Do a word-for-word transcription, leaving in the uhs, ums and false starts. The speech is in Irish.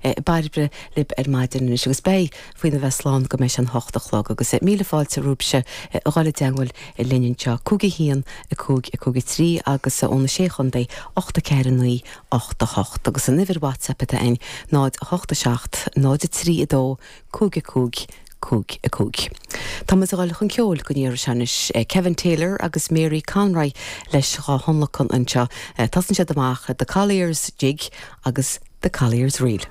Bairbre libh ar maidin anois agus beidh faoina bheith slán go mbeidh an hocht a chlog agus míle fáilte romhaibhse a dhul i dteagmháil linn anseo cúig a haon a cúig a cúig trí agus óna sé chontae ocht a ceathair naoi ocht a hocht agus an uimhir WhatsApp atá ann náid a hocht a seacht náid a trí a dó cúig a cúig cúig a cúig. Tá muid ag dul chun ceoil go n-iarr anois Kevin Taylor agus Mary Conroy leis dhá thionlacan anseo. Tosaíonn siad amach The Collier's Jig agus The Collier's Reel.